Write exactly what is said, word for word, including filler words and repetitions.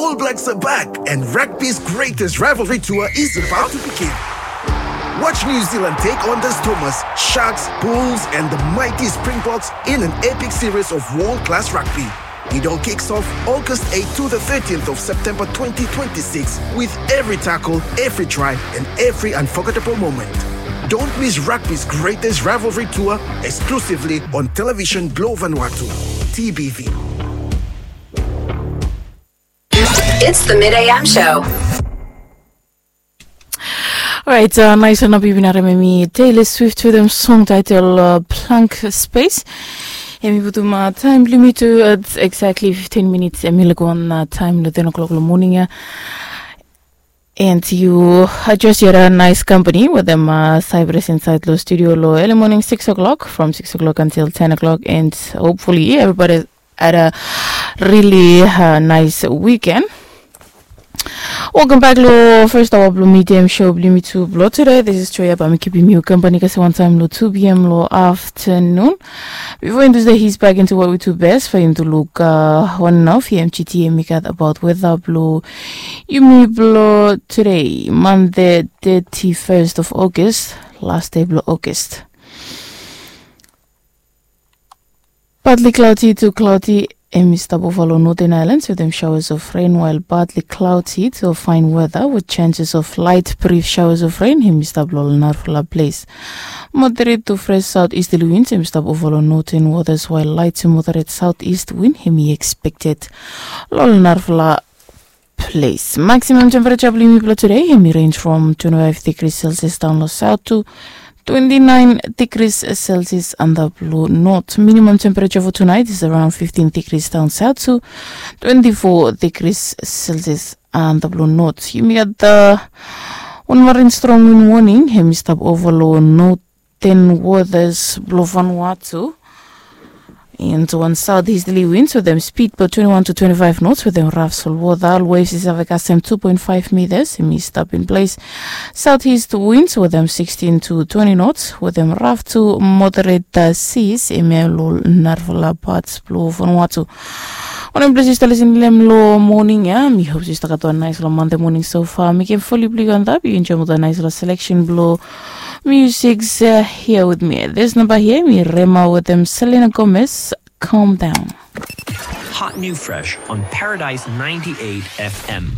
All Blacks are back, and rugby's greatest rivalry tour is about to begin. Watch New Zealand take on the Stormers, Sharks, Bulls, and the mighty Springboks in an epic series of world-class rugby. It all kicks off August eighth to the thirtieth of September twenty twenty-six, with every tackle, every try, and every unforgettable moment. Don't miss rugby's greatest rivalry tour, exclusively on Television Globe Vanuatu, T B V. It's the Mid A M show. Orait, uh, nais wan na bibinare memi Taylor Swift wetem song title, uh, Blank Space. Hemi putum, uh, taem blong yumi tu at exactly fifteen minutes. Hemi laik wan, uh, taem long ten o'clock long moning ia. And you are just here a nice company wetem, uh, Cyprus inside long studio long early morning six o'clock, from six o'clock until ten o'clock, and hopefully everybody had a really, uh, nice weekend. Welcome back long first hour blong Mid A M show blong yumi tu blong today. This is Joya, bae mi kipim yu kampani kasem wan taem long two p.m. long afternoon. Before yumi tu stap, here's back into what we do best for yumi tu luk, uh, wan nao fi M G T hemi gat about weather blong yumi blong today, Monday, thirty-first of August, last day blong August. Partly cloudy to cloudy, hemi stap ova long Northern Islands wetem showers of rain, while partly cloudy to fine weather with chances of light brief showers of rain hemi stap long ol narafala ples. Moderate to fresh southeasterly winds hemi stap ova long northern waters, while light to moderate southeast wind hemi expected long ol narafala ples. Maximum temperature blong yumi blong today hemi range from twenty-five degrees Celsius down long south to twenty-nine degrees Celsius antap long north. Minimum temperature for tonight is around fifteen degrees down south to twenty-four degrees Celsius antap long north. Yumi gat, uh, wan marin strong wind warning hemi stap ova long north ten waters blong Vanuatu. And wan southeasterly winds wetem speed blong twenty-one to twenty-five knots wetem raf solwota. Waves i save kasem two point five meters, hemi stap in ples. Southeast winds wetem sixteen to twenty knots wetem raf to moderate, uh, seas, hemia long narafala pats blong Vanuatu. Wanem ples yu stap lisin long hem long moning ia, mi hop se yu stap gat wan naesfala Monday moning so far. Mekem foli blong yu antap, yu enjoem ol naesfala selection blong music, uh, here with me. This number here, mi Rema wetem Selena Gomez, Calm Down. Hot new fresh on Paradise ninety-eight F M.